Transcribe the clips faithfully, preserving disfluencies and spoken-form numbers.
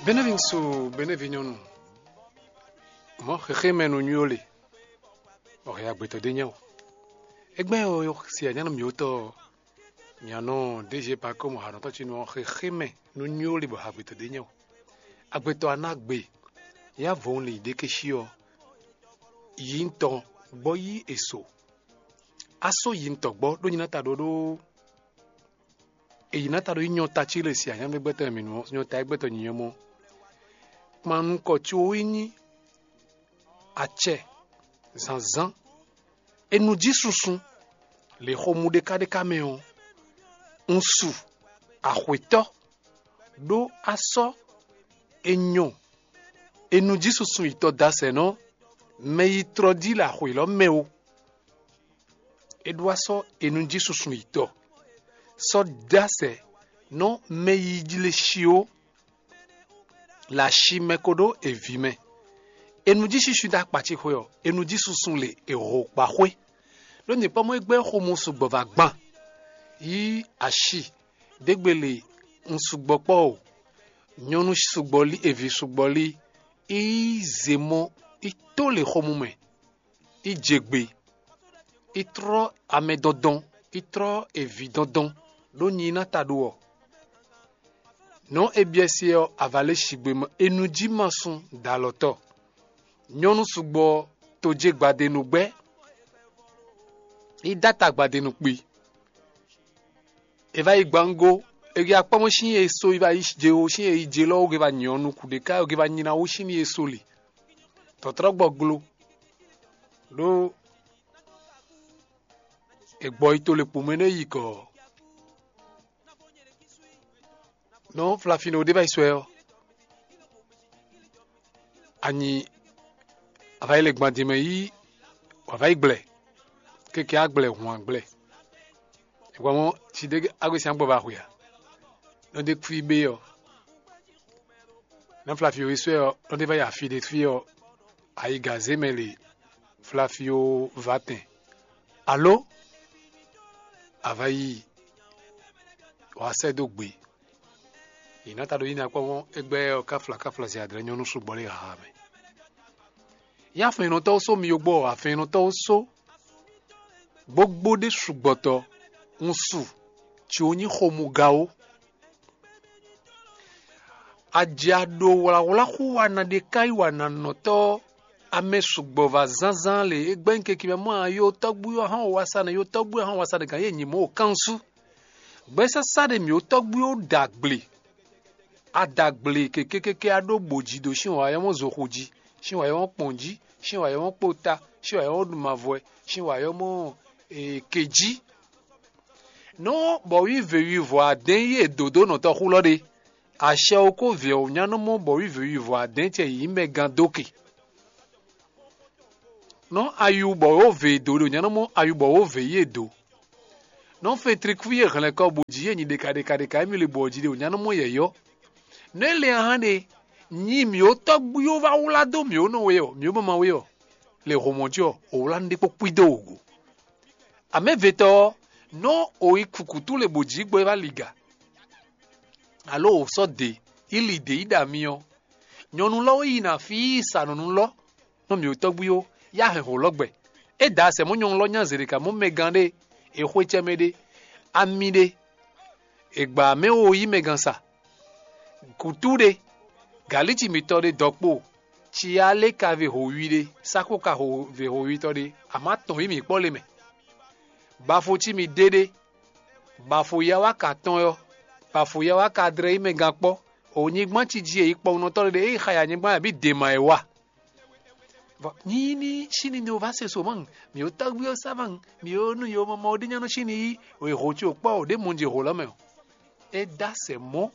Benɛ́vi ŋsu, benɛ́vi nyɔ́nu, mɔ̌ xexémɛ nú nywó le, bɔ hɛ agbetɔ ɖé nya o. Égbɛ́ ɔ́, si anyánu mǐ ótɔ́ ɔ́, mǐ nɔ ɖéje pa kɔ́ mɔ hanɔtɔ́ ce nú ɔ́, xexémɛ nú nywó le bɔ agbetɔ ɖé nya o. Agbetɔ a ná gbe, yá vɔ̌n lin ɖékéshi ɔ́, yi ŋutɔn gbɔ yí e so. A sɔ́ yi ŋutɔn gbɔ ɖó nyi ná ta ɖó ɖó èyí ná ta ɖó nyí nyɔta cí le si anyámɛgbɛtɔ́ e mǐ nú ɔ́, nyɔta e gbɛtɔ́ nyí ɔ́ mɔ. Kpan nukɔn ce wú nyí acɛ zǎnzǎn. È nǔ jí susun lě xomú ɖékáɖéká mɛ ɔ́, un su axwětɔ́ ɖó a sɔ́ è nyɔ è nǔ jí susun yitɔ́ dasɛnɔ mɛ yi tlɔ jí le axwě lɔ mɛ ó. É ɖó a sɔ́ è nǔ jí susun yitɔ́ sɔ́ dasɛ nɔ mɛ yi jlé shi ó. Le ashi mɛ ko ɖó eví mɛ. È nǔ jí susun dó akpacixwe ɔ́, è nǔ jí susun le è ho kpa xwé. Ɖó nyɛ kpɔ́ mɔ é gbɛ́ xomɔ sugbɔ vǎ gban. Yí ashi ɖégbé le un sugbɔ kpɔ́ o. Nyɔnu sugbɔ lí, eví sugbɔ lí, yi zě mɔ, yi tó le xomɔ mɛ, yi jɛ gbe, yi tlɔ́ amɛ dɔndɔn, yi tlɔ́ eví dɔndɔn ɖó nyi ná ta ɖó ɔ́. Nɔ̌ é byɔ́ sí ɔ́, avǎ lɛ́ɛ sigbe mɔ é nú jí ma sun dǒ alɔ tɔ́. Nyɔ́nu sugbɔ tojé gbadenu gbɛ́, yi dó ata gbadenu kpi. È va yi gbǎngo, è yi akpɔ́mɔ́ sín e so yi va yi je o sín e yi je lɔ ó ge va nyɔ nukún ɖé ká ó ge va nyi ná wú sín ní e so li. Tɔ̌trɔ́gbɔ glo ɖó è gbɔ yi to le kpomɛ nú e yi gɔ̌. Nɔ flafino ɖé va yi sɔ ɛ ɔ́, anyi a va yi le gbɔn din mɛ yí wǎ va yi gblɛ, keke á gblɛ hǔn á gblɛ. È gbɔ mɔ si ɖé agbe sín agbɔ va xwe a? Nɔ ɖé kú bé ɔ́, nɔ flafino e sɔ ɛ ɔ́, nɔ ɖé va yi afi ɖé fí ɔ́, ayiga zé mɛ le flafio va tɛn. Alo a va yi wǎ sɛ́ dó gbe. Yě ná ta ɖo yí ná kpɔ́n égbɛ́ ɔ́ káfla káfla zɛ adlɛ́ nyɔ́nú sugbɔ lé haha mɛ. Yá afɛnnɔtɔ́ ó só mi yogbó ɔ́, afɛnnɔtɔ́ ó só gbogbo ɖé sugbɔtɔ un su, ci ó nyí xomugá ó. Aja ɖo wlǎwlá xú wa ná ɖe ká yi wa ná nɔtɔ́ amɛ sugbɔ va zánzán le é gbɛ́ nyí keke mɛ mɔ a yo tɔ́gbú ɔ́ hán wasa nɛ yo tɔ́gbú ɔ́ hán wasa nɛ gǎn yě nyi mɔ̌ o kánsu. Gbɛ́sásá ɖe mǐ ó tɔ́gbú ɔ́ ɖo agble. A da agble keke keke a ɖó bǒ jí ɖo sín wǎyɔ́mɔ zoxo jí, sín wǎyɔ́mɔ kpɔn jí, sín wǎyɔ́mɔ kpota, sín wǎyɔ́mɔ ɖumavɔɛ, sín wǎyɔ́mɔ ke jí. Nɔ́ bɔ̌ wí vě wivɔ adɛ́n yí è dǒ dó nɔtɔ́xú lɔ ɖe. Acɛ ɔ́ kó vǐ ɔ́ nyá nɔ mɔ bɔ̌ wí vě wivɔ adɛ́n cɛ yǐ mɛ gán dó ke. Nɔ́ ayu bɔ wǒ vě dó ɖo nyá nɔ mɔ ayu bɔ wǒ vě yí è dǒ. Nɔ́ fɛntrikúví e hɛn lɛ́ kɔ bó jí yě nyi ɖeka ɖeka ɖeka émí le bɔ jí ɖe wǒ nyá nɔ mɔ yɛ̌yɔ́. Nɔ́ é le ahán ɖe, nyi mǐ ó tɔ́gbúyó wá wlá dó mǐ ó nɔ we ɔ́, mǐ ó mama we ɔ́, le hǒmɔ́ jí ɔ́, ò wlá nú ɖé kpó kpídó wǒ go. Amɛ̌vetɔ́ ɔ́, nɔ́ ò yi kukǔtú le bǒ jí gbɔ é wá liga, alo ò sɔ́ dě, yi li dě yi ɖa mi ɔ́, nyɔ̌nu lɔ wɛ yi nɔ afí yi sa nɔ nú lɔ nɔ mǐ tɔ́gbú ó, yá hɛn hǒ lɔ gbɛ. É da asɛ mɔ̌ nyɔ̌nu lɔ nya zěɖeka mɔ̌ mɛgán ɖé, è xwé cɛ mɛ ɖé, ami ɖé, è gbǎ mɛ wo yí mɛgán sa, kǔtú ɖé, gǎlíci mitɔ́ ɖé dɔkpó, cyalé ka ve hǒwi ɖé, sákó ka ve hǒwitɔ́ ɖé, amǎ tɔn yí mǐ kpɔ́ le mɛ. Bafo cí mi déɖé, bafo ya wá ka tɔn ɔ́, bafo ya wá ka dlɛ́ yí mɛ gán kpɔ́, o nyigban cí jí e yi kpɔ́nɔtɔ́ ɖé e yi xa ya nyigban abǐ dě ma ɛ wa. Vɔ nyí ní síni ní o va se so mɔ̌, mǐ ó tɔ́gbí ó sá mɔ̌, mǐ ó nú yo mɔmɔ ó ɖí nyɔ́nú síni yí, o yi hǒ cí o kpɔ́ o ɖě mɔ jǐ hǒ lɔ mɛ o. É dó asɛ mɔ̌,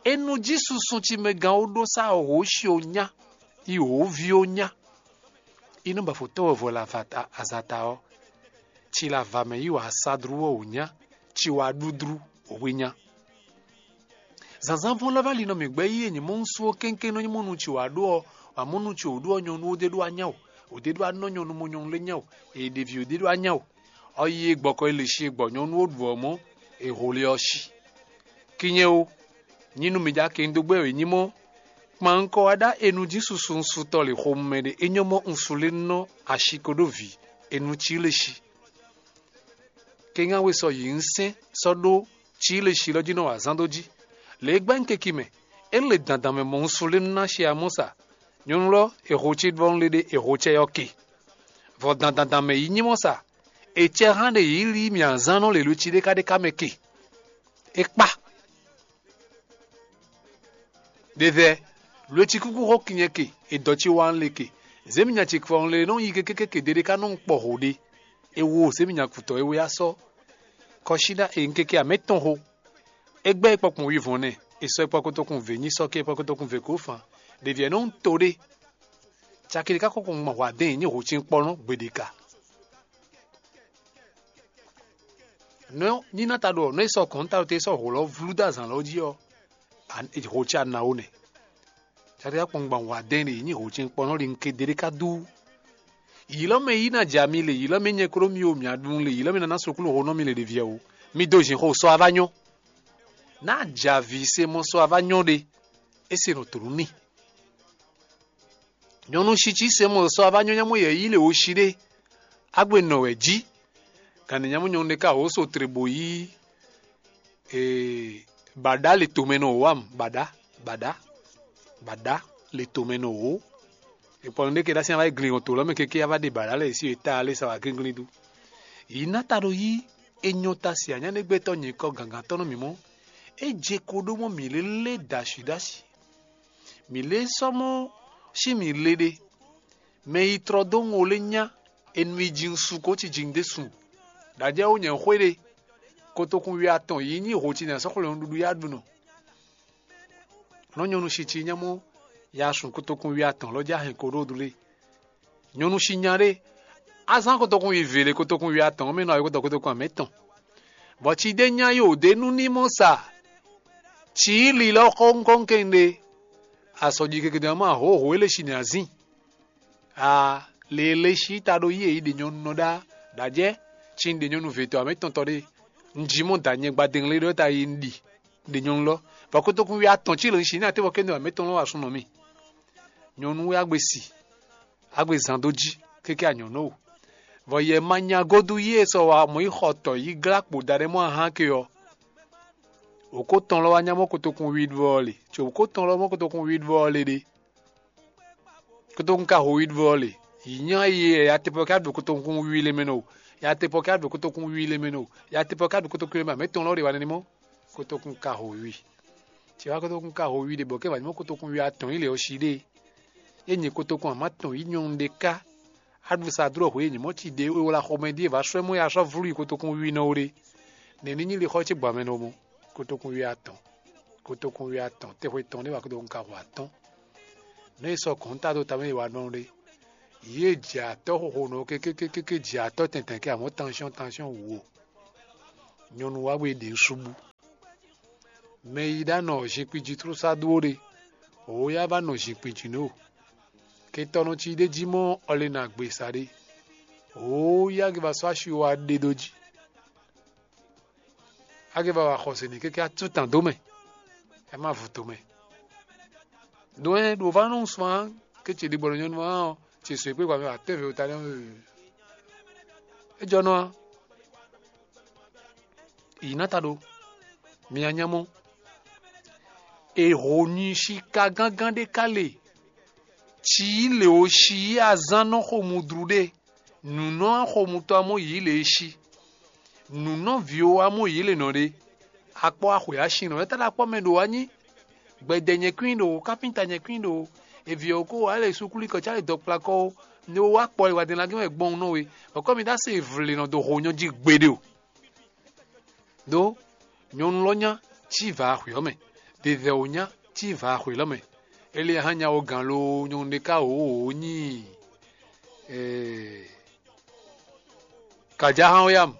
é nú jí susun cí mɛ gán ó ɖó sá o hǒ si o nyá, yi hǒ ví ó nyá. Inú bafo tɔ́ wɛ vɔ le azata ɔ́, ci le ava mɛ yí wǎ sá dlú ɔ́ wǒ nyá, ci wǎ ɖu dlú wǒ hwe nyá. Zǎnzǎn vɔ́n lɛ́ vɛ́ ali nɔ mǐ gbɛ́ yí e nyǐ mɔ un sú ɔ́ kɛ́nkɛ́n nɔ nyí mɔ nu ci wǎ ɖó ɔ́, wǎ mɔ nu ci wǒ ɖó ɔ́, nyɔ̌nu ó ɖé ɖó anyá o, wǒ ɖé ɖó anɔ nyɔ̌nu mɔ nyɔ̌nu lɛ́ɛ nyá o, è ɖevi ó ɖé ɖó anyá o. Ɔ́ yi e gbɔkɔ e lě shi e gbɔ nyɔ̌nu ó ɖu ɔ́ mɔ̌, è ho le ɔ́ shi. Kinyɛ ó, nyí nú mǐ ɖó akɛnnyídógbɛ́ wě nyí mɔ́, Kpan un kɔ wá ɖá e nú jí susu un su tɔ́ lǐxomɛ ɖe é nyɔ́ mɔ un su lé nɔ ashi ko ɖó vǐ e nú cí lé shi. Kɛ́n we sɔ yi un sɛ́n sɔ́ ɖó cí lé shi lɔ jí nɔ wa zán dó jí. Lě e gbɛ́ un keki mɛ, é le dandan mɛ mɔ un su lé nú ná shi amɔ́ sa. Nyɔ̌nu lɔ è ho cí bɔ un le ɖe è ho cɛ ɔ́ ke. Vɔ dandan mɛ yi nyí mɔ́ sa, è cɛ hán ɖe yǐ lí mì azán nɔ lě ló cí ɖé ká ɖé ká mɛ ke. É kpá. Ɖevɛ, lo e cikúkú xɔ kinyɛ ke, è dɔ ci wa un le ke. Zěminya ce kɔ un le nɔ yi kékékéke ɖeɖe ká nɔ un kpɔ ho ɖe. É wo zěminya kutɔ é wé asɔ. Kɔsíɖá e un kéké amɛ tɔn xo. É gbɛ́ é kpɔkpɔn wivɔn nɛ, è sɔ é kpɔkotokun vě nyi sɔ́ kí é kpɔkotokun vě kó fan. Ɖevi ɛ nɔ un to ɖé. Caki ɖé ká kɔkɔ gbɔn hwa dɛn nyi ho cinkpɔnɔ gbeɖeka. Nɔ nyí ná ta ɖo nɔ é sɔ kɔn ta ɖo te sɔ ho lɔ vlú dó azǎn lɔ jí ɔ́, ho ce anawo nɛ. Caki ká kpɔn gbɔn hwa dɛn ɖe nyi ho cinkpɔnɔ ɖi un ke ɖe ɖé ká dú. Yǐlɔ mɛ yí ná ja mi le, yǐlɔ mɛ nyɛ klo mi o mia ɖun le, yǐlɔ mɛ ná ná sokúlu ho nɔ mi le ɖeviɛ o. Mi do zin xo sɔ ava nyɔ. Ná ja vǐ se mɔ sɔ ava nyɔ ɖe. É se nɔ tlú n'i. Nyɔ̌nu shi cí se mɔ sɔ ava nyɔ nyámɔ yɛ yí le wo shi ɖé. Agbe nɔ wɛ jí. Gǎn nyámɔ nyɔ̌nu ɖé ka wǒ so tle bó yí. Ee, baɖa le tomɛ nɔ wǎ mu baɖa baɖa baɖa le tomɛ nɔ wǒ. Ekpɔnɔ ɖé ke ɖo así ava yi glin to lɔ mɛ keke ava ɖe baɖa lɛ si eta ale sa wá glinglin dó. Yi ná ta ɖo yí enyɔ ta si anyáɖégbɛtɔ́ nyǐkɔ gǎngantɔ́ nɔ mǐ mɔ. É je ko ɖó mɔ mǐ lélé ɖashi ɖashi. Mǐ lé sɔ́ mɔ sín mǐ le ɖe. Mɛ yi tlɔ dó ŋo lé nyá e nú yi jǐnsu ko cí jǐnú ɖésú. Ɖajɛ́ ó nyɛ xwé ɖe. Kotokun wi atɔn yi nyí ho ci nɛ sɔ́ xwlɛnu ɖuɖu yá ɖu nɔ. Nɔ nyɔnu shi ci nyɛ mɔ ya sun kotokun wi atɔn lɔ já hɛn ko ɖó ɖu lé. Nyɔnu shi nya ɖé. Azán kotokun wi vě lé kotokun wi atɔn mɛ nɔ ayɔkɔtɔ kotokun amɛ tɔn. Bɔ ci ɖé nya yi òde nú ní mɔ sa. Ci yi lilɔ xɔnkɔn kɛnɖe. Asɔji keke dɔn ma hǒhǒ ele shi nɛ azín. A lele shi ta ɖo yi e yi ɖe nyɔnu nɔ ɖá. Ɖajɛ ci ɖe nyɔnu vetɔ amɛ tɔn tɔ ɖe. Un ji mɔ da nyɛ gbadɛn le ɖɔ ta yi un ɖi ɖe nyɔnu lɔ. Bɔ kotokun wi atɔn ci le un shi ní atevɔ kɛnɖe amɛ tɔn lɔ wa sun nɔ mi. Nyɔnu wɛ agbe si. Agbe zan dó jí kéké anyɔ̌nó o. Vɔ yɛ ma nya godu yi e sɔ wa mɔ̌ yi xɔ tɔ yi glá kpo da ɖé mɔ ahán ke ɔ́. Òkó tɔn lɔ wá nya mɔ kotokun wiɖuvɔ ɔ́ le. Tso òkó tɔn lɔ mɔ kotokun wiɖuvɔ ɔ́ le ɖe. Kotokun ka ho wiɖuvɔ ɔ́ le. Yi nya yi ya tepɔ ka ɖu kotokun wiwi le mɛ nɔ o. Ya tepɔ ka ɖu kotokun wiwi le mɛ nɔ o. Ya tepɔ ka ɖu kotokun wiwi le mɛ amɛ tɔn lɔ ɖe wa nɛnɛ mɔ. Kotokun ka ho wiwi. Tsi wá kotokun ka ho wiwi ɖe bɔ kɛ wà ní mɔ kotokun wiwi atɔn yi le ɔ shi ɖe. Ye nyi kotokun amá tɔn yi nyɔnu ɖe ká. Aɖu sa dlɔ́ hwe nyɔ̌mɔ́ ci ɖě e wla xɔmɛ ɖíe vǎ sɔ́ mɔ ya sɔ́ vlú yi kotokun wiwi nɔ ɖe. Nɛ̌ ní nyí lixɔ ce gbǎmɛ nɔ mɔ? Kotokun wiwi atɔn. Kotokun wiwi atɔn tɛxwe tɔn ɖé wá kotokun ka hu atɔ́n. Nɛ̌ è sɔ́ gɔ̌n ta dó tamɛ yi wa nɔ ɖe? Yě jɛ atɔ́ xoxo nɔ kékékéké jɛ atɔ́ tɛntɛn kɛ amɔ̌ tansyɔ́n tansyɔ́n wǔ o. Nyɔnu wá bɔ é ɖě nú súbú. Mɛ yi ɖá nɔ zinkpin jí tlúsá dó ɖe, wǒ yá va nɔ zinkpin jí nú o. Kɛntɔ́nɔ ci ɖé jí mɔ ɔlina gbe sa ɖé. Wǒ yá gbe ba sɔ́ asi wá ɖe dó jí. Á gbe ba wa xɔse ní kéké atú tàn dó mɛ. Ɛ má vu tomɛ. Ɖó ɛ ɖo va nɔ sɔn ké ce ɖigbɔ nyɔnu ɔ́ ce sɔ kpé gba mɛ atɛ́nve o ta nɛ. É jɔ nɔ a? Yi ná ta ɖo. Mi nya mɔ. È ho nyi sika gángan ɖé ká le. Ci yi le o si yi azán nɔ xo mudru ɖe. Nǔnɔ xomutɔ́ amɔ yǐ le e cí. Nǔnɔ vǐwo amɔ yǐ le nɔ ɖe. Akpɔ axwe asinɔ ɛ tá ɖo akpɔ mɛ ɖo wá nyí. Gbɛdɛ nyɛ kwín ɖo kápínta nyɛ kwín ɖo. Eviɛ ko wá le sukúlu kɔ cá le dɔkplakɔ ó. Ne wá kpɔ e wá dɛn lagé wɛ gbɔn nɔ we. Bɔkɔ mi dá se vle nɔ do ho nyɔ jí gbeɖe o. Ɖó nyɔnu lɔ nya cí vǎ axwe ɔ́ mɛ. Ɖevɛ wǒ nya cí vǎ axwe lɔ mɛ. Ele hán nya wo gǎn loo nyɔnu ɖé ká wǒ wǒ nyí. Ee, Kàjá hán wɛ yá mɔ.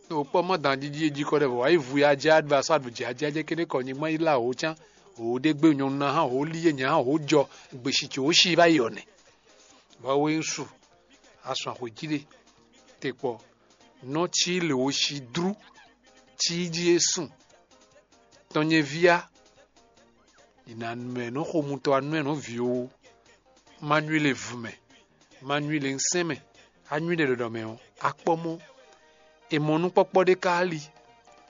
Nú wò kpɔ́ mɔ dǎn jíjí e jí kɔ ɖɛ vɔ wǎ yi vu ya jɛ adva sɔ́ advǒ jɛ ajɛ jɛ kéne kɔ nyigban yi lá wǒ cán. Wǒ ɖé gbé nyɔnu ná hán wǒ lí yé nya hán wǒ jɔ. Gbèsì ce wǒ si va yi ɔ́ nɛ. Vɔ wé ŋsu. Asɔn axwě jí ɖe. Te kpɔ. Nɔ cí lě wǒ si dlú. Cí jí é sùn. Tɔn nyɛ vía. Nǐnanú mɛ nɔ́ xomutɔ́ anú mɛ nɔ́ vǐ ó, ma nywí le vǔ mɛ, ma nywí le ŋsɛn mɛ, a nywí le ɖɔɖɔ mɛ ɔ́, a kpɔ́ mɔ́. È mɔ nukpɔ́kpɔ́ ɖé ka ali.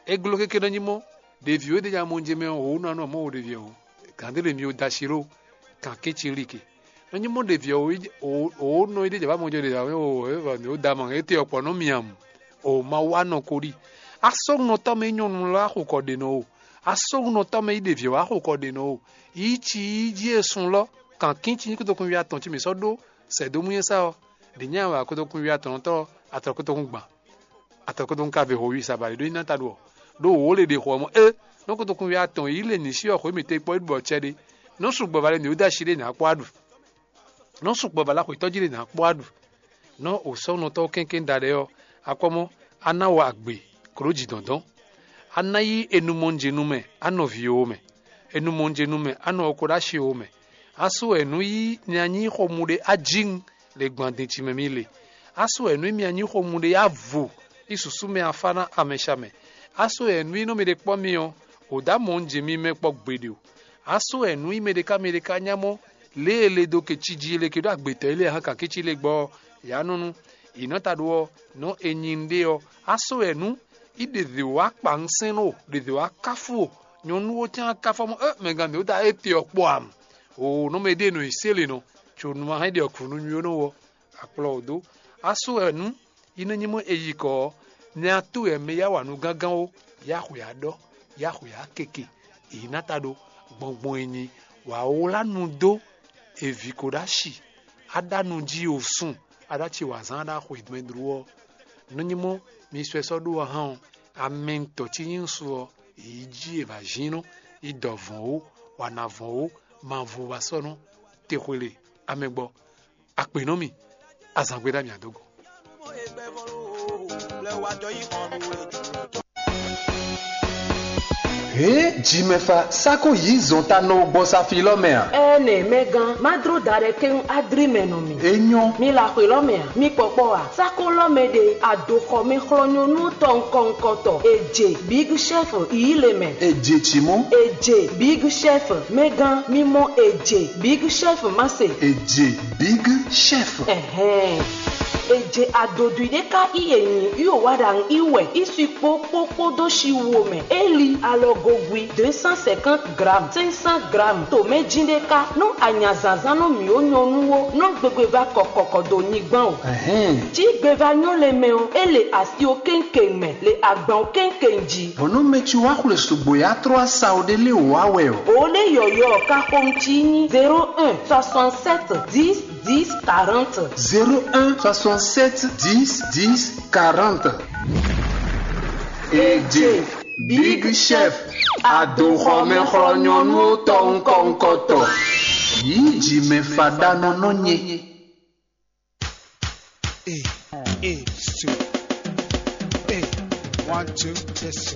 É gló kéké nɔ́ nyí mɔ́, ɖevi wědejamɔnjɛmɛ ɔ́, wǒ nɔ anú ɔ́ mɔ wo ɖevi ɔ́, gǎn ɖé ɖe mi wo dó así ɖó kankíci lí ke. Nɔ́ nyí mɔ́ ɖevi ɔ́, wǒ nɔ yi ɖé jɛ bá mɔjɔ ɖe ǎ, wǒ da mɔ étɛ ɔkpɔ nɔ́ miamú. O ma wá nɔ ko ɖi. Asɔ́nunɔtɔ́ mɛ nyí nyɔ̌nu lɛ́ɛ axokɔ ɖe nɔ o. Asɔ́nunɔtɔ́ mɛ nyí ɖevi ɔ́ axokɔ ɖe nɔ o. Yi ci yi jí e sun lɔ, kankíci nyí kótókun ví atɔn cí mǐ sɔ́ ɖó sɛ̌dómú nyɛ sá ɔ́, ɖě nyɛ wɛ akótókun ví atɔn tɔ́ atɔn kótókun gban. Atɔn kótókun ka ve ho wi sa ba ɖě ɖó nyí ná ta ɖu ɔ́. Ɖó wǒ le ɖe xo ɔ́ mɔ é, nɔ́ kótókun ví atɔn yi le nǐ sí ɔ́ xwě mǐtɔn yi kpɔ́ ɖu bɔ cɛ ɖé. Nɔ́ sugbɔ ba lɛ mǐ wú dó así ɖé nǎ kpɔ́ aɖu. Nɔ́ sugbɔ ba lá xwetɔ́ jí ɖé nǎ kpɔ́ aɖu. Nɔ́ wǒsɔ́nɔtɔ́ kɛ́nkɛ́n da ɖɛ ɔ́, akɔ́mɔ á ná wa agbe klǒ jǐ dɔ̌ndɔ́n. Á ná yí enumɔnjenu mɛ á nɔ vǐ ó mɛ. Enumɔnjenu mɛ á nɔ ɔkó ɖó así ó mɛ. Á sú wɛ nǔ yí nya nyí xomú ɖé á jí un le gbɔn adin ce mɛ mì le. Á sú wɛ nǔ mì anyí xomú ɖé á vo í susú mɛ afá ná amɛsha mɛ. Á sú wɛ nǔ í nɔ mì ɖe kpɔ́ mi ɔ́, wǒ dó amɔ̌ un jɛ mi mɛ kpɔ́ gbeɖe o. Á sú wɛ nǔ í mɛ ɖé ká mɛ ɖé ká nya mɔ lě e le dó ke cí jí le ke ɖó agbětɔ́ e lé hán kakící le gbɔ ɔ́, yǎ nɔ nú. Yǐ nɔ ta ɖó ɔ́, nɔ́ è nyi un ɖe ɔ́, á sú wɛ nǔ í ɖe zě wá kpa un sɛn o, ɖe zě wá káfú o. Nyɔ̌nu ó tɛ́n káfú mɔ ɛ mɛgán mǐ ó da étɛ ɔ́ kpɔ ǎ. O nɔ mɛ ɖíe nɔ yi sélě nɔ, có nú ma hɛn ɖi ɔkǔnú nywí ó nɔ wɔ akplɔ wǒ dó. Á sú wɛ nǔ í nɔ nyí mɔ è yi kɔ ɔ́, nya tó wɛ mɛ yá wa nú gángán ó, yá xwě á ɖɔ, yá xwě á keke, èyí ná ta ɖó gbɔngbɔn e nyi wǎ wlá nu dó èvǐ ko ɖó ashi, á ɖá nu jí o sun, á ɖó aci wǎ zán á ɖó axwe mɛ dlú ɔ́. Nɔ nyí mɔ mi sɔ́ ɛ sɔ́ ɖó ɔ́ hán ɔ́, amɛntɔ́ cí nyí ŋsu ɔ́, yǐ jí è vǎ zín nɔ, yi dɔ vɔ̌n ó, wa ná vɔ̌n ó, ma vo wa sɔ́ nɔ, te xwele amɛ gbɔ. Akpe nɔ mì, azǎngbe ɖo mì adó gɔ́n. Hě jimɛfa sáko yǐ zɔn ta nɔ gbɔ safi lɔ mɛ a? Ɛnɛ mɛgán, má dló da ɖɛ kɛ́n adrí mɛ nɔ mì. É nyɔ́. Mi la xwe lɔ mɛ a? Mi kpɔkpɔ a? Sáko lɔ mɛ ɖe adoxɔmɛ xlɔ́ nyɔ́nú tɔn kɔnkɔtɔ. È jě Big Chef yí le mɛ. È jě cí mɔ? È jě Big Chef mɛgán, mi mɔ è jě Big Chef má se. È jě Big Chef. Ɛhɛn. È jě adodwi ɖé ká í è nyi í ò wá ɖa í wɛ í si kpó kpó kpó dó shi wo mɛ. É li alɔgogwi deux cent cinquante grammes, cinq cents grammes. Tǒmɛjí ɖé ká nú anya zǎnzán nú mǐ ó nyɔ́nú ó, nɔ́ gbégbé vá kɔkɔkɔ dó nyigbán o. Ɛhɛn. Cí gbevá nyɔ́ lɛ mɛ ɔ́, é le asi ó kéŋkéŋ mɛ, le agban ó kéŋkéŋ jí. Bɔ̌ nú mɛ ci wá xwle sugbo yi atlɔ́ asawo ɖé lé wǒ wá wɛ ɔ́. Ǒ ɖé yɔ̌yɔ́ ká xomɛ cí nyí zéro un soixante-sept dix dix quarante. Zéro un soixante-sept dix dix quarante. Èjè Big Chef, adoxɔmɛxlɔ́ nyɔ́nú tɔn ŋkɔŋkɔtɔ. Yǐ jǐmɛ faɖanɔ nɔ nyɛ. Hey, hey, so. Hey, one, two, let's go.